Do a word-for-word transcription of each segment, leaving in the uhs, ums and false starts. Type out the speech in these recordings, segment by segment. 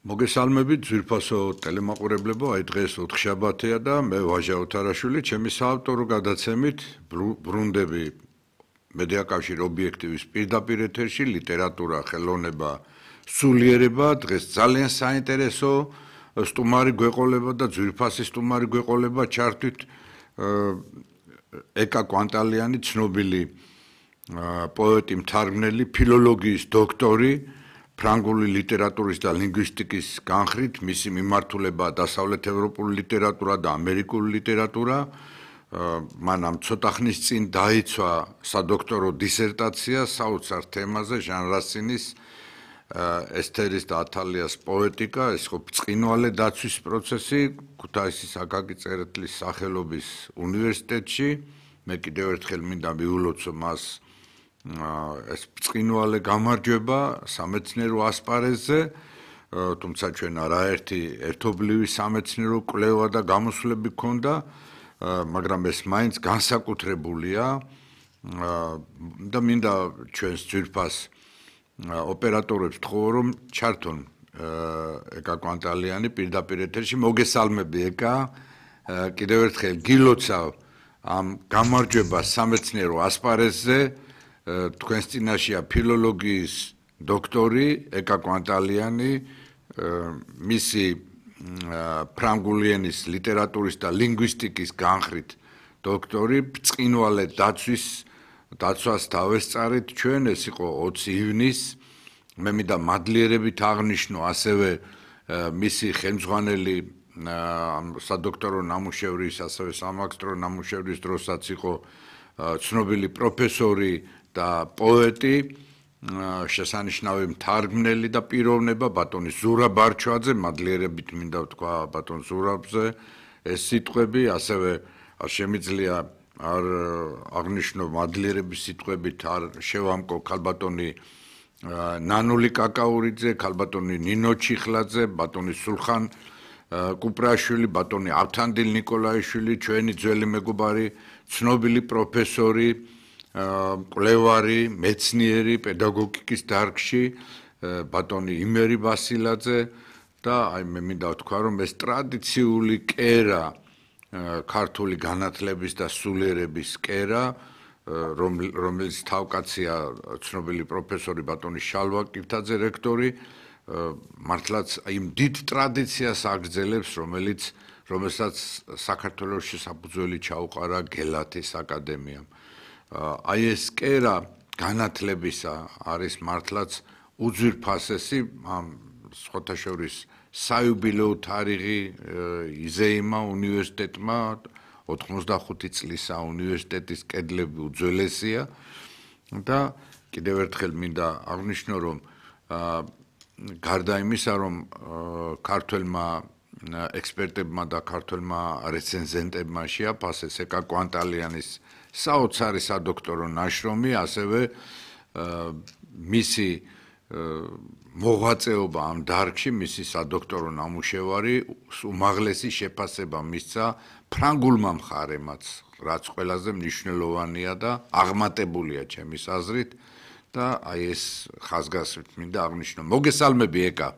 მოგესალმებით ძვირფასო ტელემაყურებლებო, აი დღეს ოთხშაბათია და მე ვაჟა ოთარაშვილი, ჩემი საავტორო გადაცემით ბრუნდები მედიაკავშირ ობიექტივის პირდაპირ ეთერში, ლიტერატურა, ხელოვნება, სულიერება, დღეს ძალიან საინტერესო სტუმარი გვეყოლება და ძვირფასი სტუმარი გვეყოლება, ჩართვით ეკა კვანტალიანი, ცნობილი პოეტი, მთარგმნელი, ფილოლოგიის დოქტორი, ფრანგული ლიტერატურის და ლინგვისტიკის განხრით, მისი მიმართულება დასავლეთ ევროპული ლიტერატურა და ამერიკული ლიტერატურა. მან ამ ცოტა ხნის წინ დაიცვა სადოქტორო დისერტაცია საოცარ თემაზე, ჟან რასინის ესთერის და ათალიას პოეტიკა, ეს ხო ბრწყინვალე დაცვის პროცესი ქუთაისის აკაკი წერეთლის სახელობის უნივერსიტეტში. მე კიდევ ერთხელ მინდა მივულოცო მას ეს ბრწყინვალე გამარჯვება სამეცნიერო ასპარეზზე, თუმცა ჩვენ არაერთი ერთობლივი სამეცნიერო კვლევა და გამოსვლები გქონდა, მაგრამ ეს მაინც განსაკუთრებულია და მინდა ჩვენს ძვირფას ოპერატორებს ვთხოვო, რომ ჩართონ ეკა კვანტალიანი პირდაპირ ეთერში. მოგესალმები ეკა, კიდევ ერთხელ გილოცავ ამ გამარჯვებას სამეცნიერო ასპარეზზე. თქვენს წინაშეა ფილოლოგიის დოქტორი ეკა კვანტალიანი, მისი ფრანგული ენის ლიტერატურის და ლინგვისტიკის განხრით დოქტორი, ბრწყინვალე დაცვის დაცვას დავესწარით ჩვენ, ეს იყო ოცი ივნისს. მე მინდა მადლიერებით აღნიშნო ასევე მისი ხელმძღვანელი სადოქტორო ნამუშევრის, ასევე სამაგისტრო ნამუშევრის დროსაც იყო ცნობილი პროფესორი და პოეტი, შესანიშნავი მთარგმნელი და პიროვნება ბატონი ზურა ბარჩვაძე, მადლიერებით მინდა ვთქვა ბატონ ზურაბზე ეს სიტყვები, ასევე არ შემიძლია არ აღნიშნო მადლიერების სიტყვებით არ შევამკო ქალბატონი ნანული კაკაურიძე, ქალბატონი ნინო ჩიხლაძე, ბატონი სულხან კუპრაშვილი, ბატონი ავთანდილ ნიკოლაიშვილი, ჩვენი ძველი მეგობარი, ცნობილი პროფესორი, მკვლევარი, მეცნიერი, პედაგოგიკის დარგში, ბატონი იმერი ბასილაძე და აი მე მინდა ვთქვა, რომ ეს ტრადიციული კერა, ქართული განათლების და სულიერების კერა, რომელიც თავკაცია ცნობილი პროფესორი ბატონი შალვა კირთაძე რექტორი, მართლაც იმ დიდ ტრადიციას აგრძელებს, რომელიც რომელსაც საქართველოს საფუძველი ჩაუყარა გელათის აკადემიამ. აი ეს კერა განათლებისა არის მართლაც უძვირფასესი, ამ სხვათა შორის საიუბილეო თარიღი იზეიმა უნივერსიტეტმა, ოთხმოცდახუთი წლისა უნივერსიტეტის კედლები უძველესია და კიდევ ერთხელ მინდა აღნიშნო, რომ გარდა იმისა, რომ ქართველმა ექსპერტებმა და ქართველმა რეცენზენტებმა შეაფასეს ეკა კვანტალიანის საოცარი სადოქტორო ნაშრომი, ასევე მისი მოღვაწეობა ამ დარგში, მისი სადოქტორო ნამუშევარი უმაღლესი შეფასება მისცა ფრანგულმა მხარემაც, რაც ყველაზე მნიშვნელოვანია და აღმატებულია ჩემის აზრით და აი ეს ხაზგასმით მინდა აღნიშნო. მოგესალმები ეკა.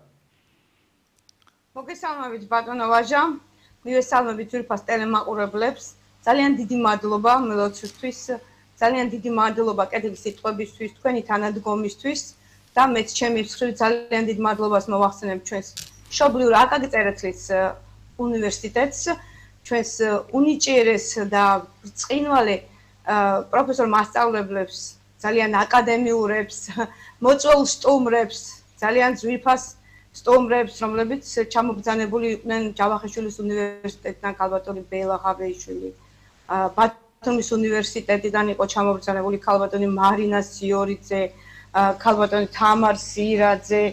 მოგესალმებით ბატონო ვაჟა, მივესალმებით ძვირფას ტელემაყურებლებს. ძალიან დიდი მადლობა მელოცვისთვის, ძალიან დიდი მადლობა კეთილი სიტყვებისთვის, თქვენი თანადგომისთვის და მეც ჩემი მხრივ ძალიან დიდ მადლობას მოვახსენებ ჩვენს მშობლიურ აკაკი წერეთლის უნივერსიტეტს, ჩვენს უნიჭიერეს და ბრწყინვალე პროფესორ მასწავლებლებს, ძალიან აკადემიურებს, მოწვეულ სტუმრებს, ძალიან ძვირფას სტუმრებს, რომლებიც ჩამობრძანებული იყვნენ ჯავახიშვილის უნივერსიტეტიდან, ქალბატონი ბელა ღაბეიშვილი, ბათუმის უნივერსიტეტიდან იყო ჩამობრძანებული ქალბატონი მარინა სიორიძე, ქალბატონი თამარ სირაძე,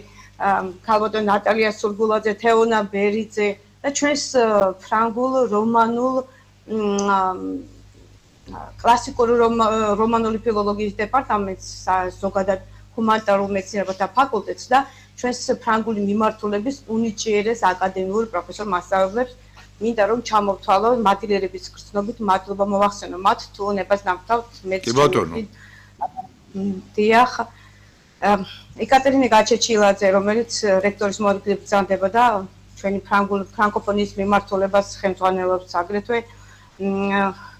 ქალბატონი ნატალია სურგულაძე, თეონა ბერიძე და ჩვენს ფრანგულ, რომანულ, კლასიკური რომანული ფილოლოგიის დეპარტამენტს, ზოგადად ჰუმანიტარულ მეცნიერებათა ფაკულტეტს და ჩვენს ფრანგული მიმართულების უნიჭიერეს აკადემიურ პროფესორ მასწავლებლებს მინდა რომ ჩამოვთვალო მადლიერების გრძნობით, მადლობა მოვახსენო მათ თუ უნებას დამთავრდით მეც. კი ბატონო. დიახ. ეკატერინე გაჩეჩილაძე, რომელიც რექტორის მოადგილედ ბრძანდებოდა ჩვენი ფრანგულ ფრანკოფონიის მიმართულებას ხელმძღვანელობს აგრეთვე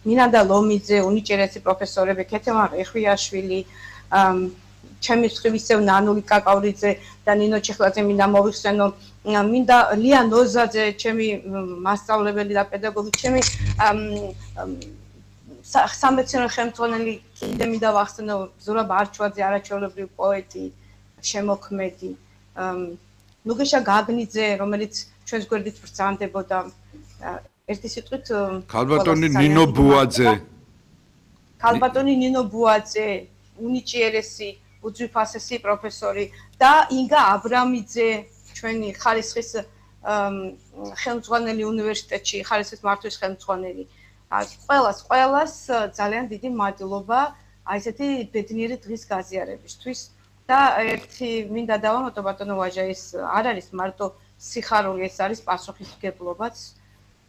მინანდა ლომიძე, უნიჭერესი პროფესორები, ქეთემა რეხვიაშვილი, ჩემი მხრივ ისევ ნანული კაკავრიძე და ნინო ჩეხლაძე მინდა მოვიხსენო, მინდა ლია ნოზაძე, ჩემი მასწავლებელი და პედაგოგი, ჩემი სამეცნიერო ხელმძღვანელი კიდე მინდა ვახსენო ზურაბ არჩვაძე, არაჩვეულებრივი პოეტი, შემოქმედი, ნუგეშა გაგნიძე, რომელიც ჩვენს გვერდით ბრძანდებოდა ერთი სიტყვით ქალბატონი ნინო ბუაძე ქალბატონი ნინო ბუაძე, უნიჭიერესი, უძვირფასესი პროფესორი და ინგა აბრამიძე, ჩვენი ხარისხის ხელმძღვანელი უნივერსიტეტში, ხარისხის მართვის ხელმძღვანელი. ყველას, ყველას ძალიან დიდი მადლობა აი ესეთი ბედნიერი დღის გაზიარებისთვის და ერთი მინდა დავამატო ბატონო ვაჟა, ეს არ არის მარტო სიხარული, ეს არის პასუხისმგებლობაც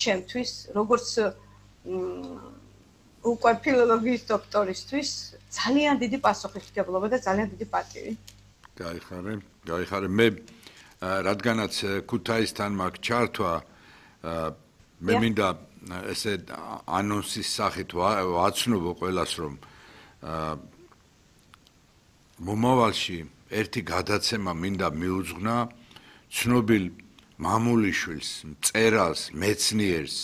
ჩემთვის, როგორც უკვე ფილოლოგიის დოქტორისთვის, ძალიან დიდი პასუხისმგებლობა და ძალიან დიდი პატივი. გაიხარე, გაიხარე. მე რადგანაც ქუთაისთან მაქვს ჩართვა, მე მინდა ესე ანონსის სახით ვაცნობო ყველას, რომ მომავალში ერთი გადაცემა მინდა მიუძღვნა ცნობილ მამულიშვილს, მწერალს, მეცნიერს,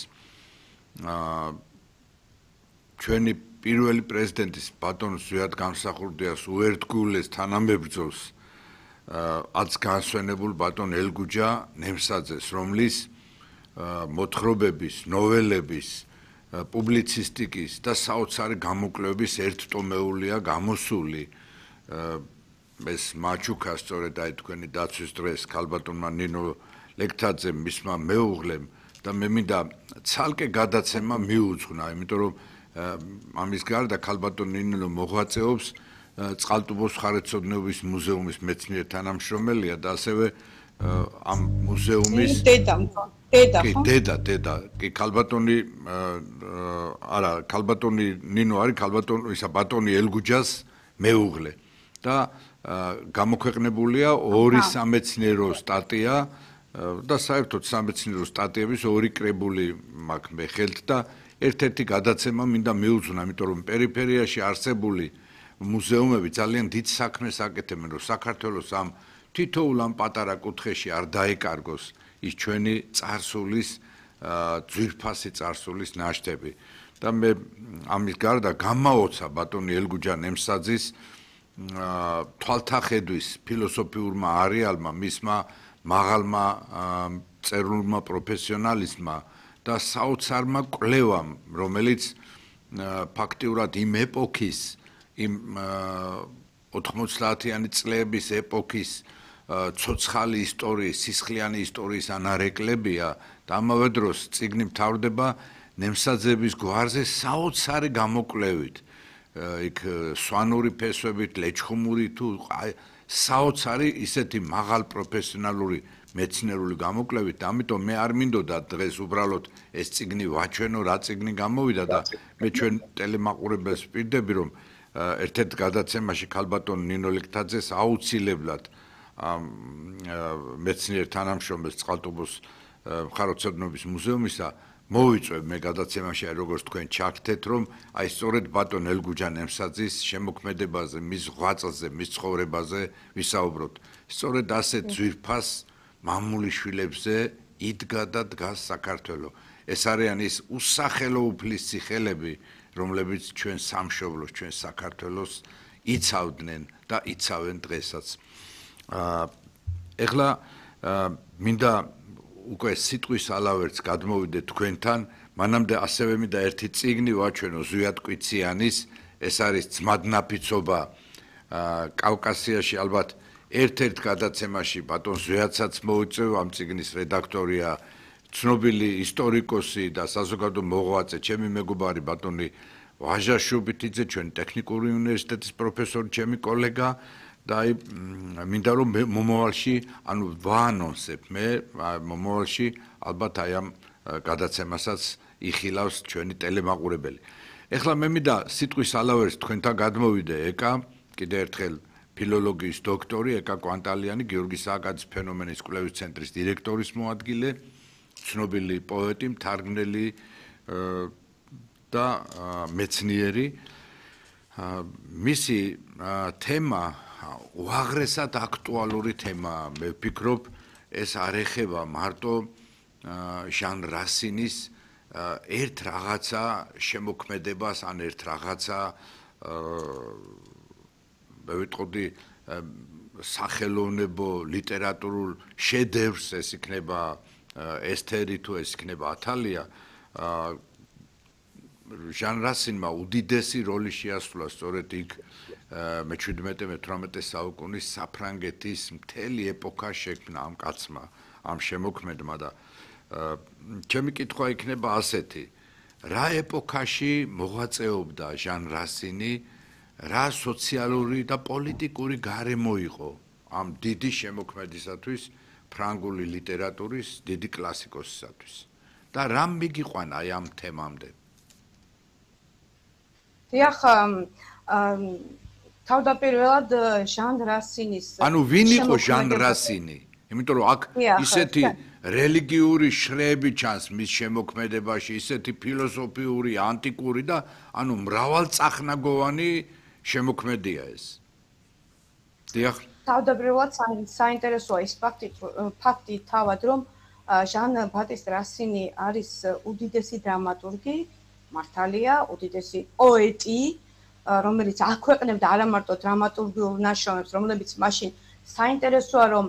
ჩვენი პირველი პრეზიდენტის ბატონ ზვიად გამსახურდიას უერთგულეს თანამებრძოლს, აც განსვენებულ ბატონ ელგუჯა ნემსაძეს, რომლის მოთხრობების, ნოველების, პუბლიცისტიკის და საოცარი გამოკვლევების ერთტომეულია გამოსული. ეს მაჩუკა სწორედ აი თქვენი დაცვის დღეს ქალბატონმა ნინო ლექტაძემ, მისმა მეუღლემ და მე მინდა ცალკე გადაცემა მიუძღვნა, იმიტომ რომ ამის გარდა ქალბატონ ნინო მოღვაწეობს წყალტუბოს მხარეთმცოდნეობის მუზეუმის მეცნიერ თანამშრომელია და ასევე ამ მუზეუმის დედა დედა კი დედა დედა კი ქალბატონი არა ქალბატონი ნინო არის ქალბატონი ისა ბატონი ელგუჯას მეუღლე და გამოქვეყნებულია ორი სამეცნიერო სტატია და საერთოდ სამეცნიერო სტატიების ორი კრებული მაქვს მე ხელთ და ერთ-ერთი გადაცემა მინდა მიუძღვნა, იმიტომ რომ პერიფერიაში არსებული მუზეუმები ძალიან დიდ საქმეს აკეთებენ, რომ საქართველოს ამ თითოეულ ამ პატარა კუთხეში არ დაეკარგოს ის ჩვენი წარსულის ძვირფასი წარსულის ნაშთები. და მე ამის გარდა გამაოცა ბატონი ელგუჯა ნემსაძის თვალთახედვის ფილოსოფიურმა არეალმა, მისმა მაღალმა წერილმა პროფესიონალიზმმა და საოცარმა კვლევამ, რომელიც ფაქტიურად იმ ეპოქის, იმ ოთხმოცდაათიანი წლების ეპოქის ცოცხალი ისტორიის, სისხლიანი ისტორიის ანარეკლებია და ამავე დროს წიგნი მთავრდება ნემსაძეების გვარზე საოცარი გამოკვლევით. იქ სვანური ფესვებით, ლეჩხუმური თუ საოცარი ისეთი მაღალ პროფესიონალური მეცნიერული გამოკვლევით და ამიტომ მე არ მინდოდა დღეს უბრალოდ ეს წიგნი ვაჩვენო, რა წიგნი გამოვიდა და მე ჩვენ ტელემაყურებელს ვპირდები, რომ ერთ-ერთ გადაცემაში ქალბატონ ნინო ლექტაძეს აუცილებლად მეცნიერ თანამშრომელს წყალტუბოს მხარეთმცოდნეობის მუზეუმისა მოვიწვევ მე გადაცემაში, როგორც თქვენ ჩაგდეთ, რომ აი სწორედ ბატონ ელგუჯა ნემსაძის შემოქმედებაზე, მის ღვაწლზე, მის ცხოვრებაზე ვისაუბროთ. სწორედ ასე ძვირფას მამულიშვილებზე იდგა და დგას საქართველო. ეს არიან ის უსახელო უფლის ციხელები, რომლებიც ჩვენ სამშობლოს, ჩვენ საქართველოს იცავდნენ და იცავენ დღესაც. ეხლა მინდა უკვე სიტყვის ალავერts გადმოვიდე თქვენთან, მანამდე ასევე მინდა ერთი წიგნი ვაჩვენო ზვიად კვიციანის, ეს არის ძმადნაფიცობა კავკასიაში, ალბათ ერთ-ერთ გადაცემაში ბატონ ზვიადსაც მოუწევ, ამ წიგნის რედაქტორია ცნობილი ისტორიკოსი და საზოგადო მოღვაწე, ჩემი მეგობარი ბატონი ვაჟა შუბითიძე, ჩვენი ტექნიკური უნივერსიტეტის პროფესორი, ჩემი კოლეგა და აი მინდა რომ მომავალში, ანუ ვაანონსებ მე მომავალში ალბათ აი ამ გადაცემასაც იხილავს ჩვენი ტელემაყურებელი. ეხლა მე მინდა სიტყვის ალავერს თქვენთან გადმოვიდე ეკა, კიდე ერთხელ ფილოლოგიის დოქტორი ეკა კვანტალიანი, გიორგი სააკაძის ფენომენის კვლევის ცენტრის დირექტორის მოადგილე, ცნობილი პოეტი, მთარგმნელი და მეცნიერი. მისი თემა უაღრესად აქტუალური თემაა. მე ვფიქრობ, ეს არ ეხება მარტო ჟან რასინის ერთ რაღაცა შემოქმედებას ან ერთ რაღაცა მე ვიტყოდი სახელოვნებო ლიტერატურულ შედევრს, ეს იქნება ესთერი თუ ეს იქნება ათალია. ჟან რასინმა უდიდესი როლი შეასრულა სწორედ იქ მეჩვიდმეტე მეთვრამეტე საუკუნის საფრანგეთის მთელი ეპოქა შექმნა ამ კაცმა, ამ შემოქმედმა და ჩემი კითხვა იქნება ასეთი: რა ეპოქაში მოღვაწეობდა ჟან რასინი, რა სოციალური და პოლიტიკური გარემო იყო ამ დიდი შემოქმედისათვის, ფრანგული ლიტერატურის დიდი კლასიკოსისათვის და რამ მიგიყვანა აი ამ თემამდე? დიახ, თავდაპირველად ჟან რასინის ანუ ვინ იყო ჟან რასინი? იმიტომ რომ აქ ისეთი რელიგიური შრეები ჩანს მის შემოქმედებაში, ისეთი ფილოსოფიური, ანტიკური და ანუ მრავალწახნაგოვანი შემოქმედია ეს. დიახ. თავდაპირველად საინტერესოა ის ფაქტი, ფაქტი თავად, რომ ჟან ბატისტ რასინი არის უდიდესი დრამატურგი, მართალია, უდიდესი პოეტი, რომელიც აქვეყნებდა არა მარტო დრამატურგიულ ნაშრომებს, რომლებიც მაშინ საინტერესოა, რომ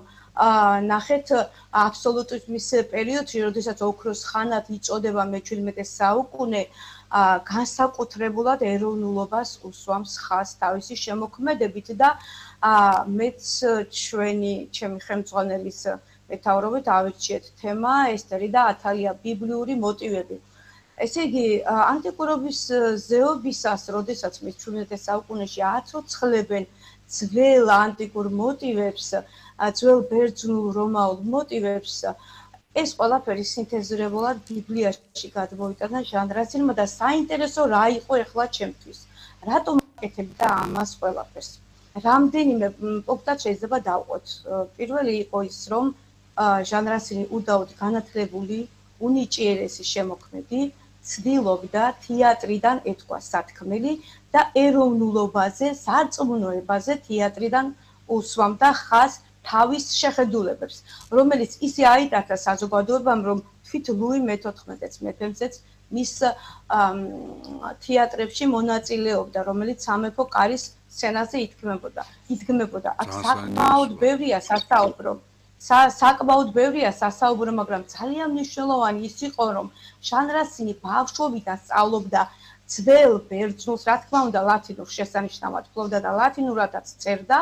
ნახეთ აბსოლუტიზმის პერიოდში, როდესაც ოქროს ხანად იწოდება მეჩვიდმეტე საუკუნე, განსაკუთრებულად ეროვნულობას უსვამს ხაზს თავისი შემოქმედებით და მეც ჩვენი ჩემი ხელმძღვანელის მეთაურობით ავირჩიეთ თემა ესთერი და ათალია ბიბლიური მოტივები. ესე იგი, ანტიკურობის ზეობისას, როდესაც მეჩვიდმეტე საუკუნეში აცოცხლებენ ძველ ანტიკურ მოტივებს, ძველ ბერძნულ რომაულ მოტივებს, ეს ყველაფერი სინთეზირებულად ბიბლიაში გადმოვიტანა ჟან რასინმა და საინტერესო რა იყო ახლა ჩემთვის. რატომ აკეთებდა ამას ყველაფერს? რამდენიმე პუნქტად შეიძლება დავყოთ. პირველი იყო ის, რომ ჟან რასინი უდაოდ განათლებული, უნიჭიერესი შემოქმედი, ცდილობდა თეატრიდან ეთქვა სათქმელი და ეროვნულობაზე, სარწმუნოებაზე თეატრიდან უსვამდა ხაზს თავის შეხედულებებს, რომელიც ისე აიტაცა საზოგადოებამ, რომ თვით ლუი მეთოთხმეტეც მეფემზეც მის თეატრებში მონაწილეობდა, რომელიც სამეფო კარის სცენაზე იდგმებოდა. იდგმებოდა. აქ საკმაოდ ბევრია სასაუბრო. საკმაოდ ბევრია სასაუბრო, მაგრამ ძალიან მნიშვნელოვანი ის იყო, რომ ჟან რასინი ბავშვობიდან სწავლობდა ძველ ბერძნულს, რა თქმა უნდა, ლათინურს შესანიშნავად ფლობდა და ლათინურადაც წერდა,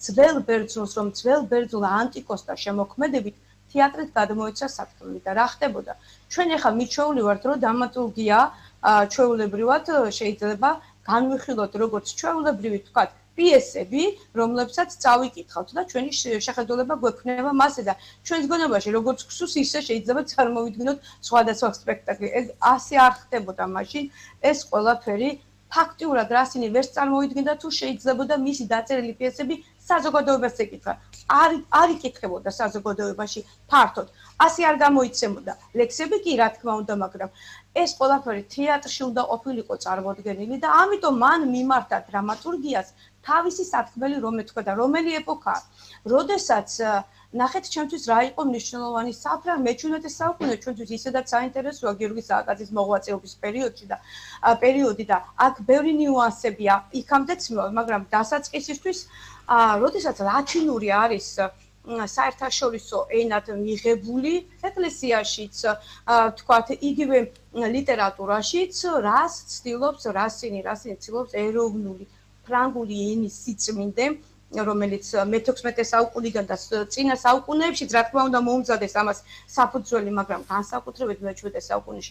ძველ ბერძნულს, რომ ძველ ბერძნულ ანტიკოსთა შემოქმედებით თეატრით გადმოეცა სათქმელი და რა ხდებოდა? ჩვენ ახლა მიჩვეული ვართ, რომ დრამატურგია ჩვეულებრივად შეიძლება განვიხილოთ როგორც ჩვეულებრივი თქვათ პიესები, რომლებსაც წავიკითხავთ და ჩვენი შეხედულება გვექნება მასზე და ჩვენს გონებაში როგორც გსურს, ისე შეიძლება წარმოვიდგინოთ სხვადასხვა სპექტაკლი. ეს ასე არ ხდებოდა მაშინ, ეს ყველაფერი ფაქტიურად რასინი ვერ წარმოიდგენდა თუ შეიძლებოდა მისი დაწერილი პიესები საზოგადოებას ეკითხა. არ არ იკითხებოდა საზოგადოებაში ფართოდ. ასე არ გამოიცემოდა. ლექსები კი რა თქმა უნდა, მაგრამ ეს ყველაფერი თეატრში უნდა ყოფილიყო წარმოდგენილი და ამიტომ მან მიმართა დრამატურგიას თავისი სათქმელი რომ ეთქვა, რომელი ეპოქაა. როდესაც ნახეთ ჩემთვის რა იყო მნიშვნელოვანი საფრანგ მეჩვიდმეტე საუკუნე ჩვენთვის ისედაც საინტერესოა გიორგი სააკაძის მოღვაწეობის პერიოდში და პერიოდი და აქ ბევრი ნიუანსებია იქამდე ცნობილ, მაგრამ დასაწყისისთვის როდესაც ლათინური არის საერთაშორისო ენად მიღებული ეკლესიაშიც, თქვათ, იგივე ლიტერატურაშიც, რას ცდილობს რასინი, რასინი ცდილობს ეროვნული ფრანგული ენის სიწმინდე, რომელიც მეთოთხმეტე საუკუნიდან და წინა საუკუნეებშიც, რა თქმა უნდა, მოუმზადეს ამას საფუძველი, მაგრამ განსაკუთრებით მეჩვიდმეტე საუკუნეში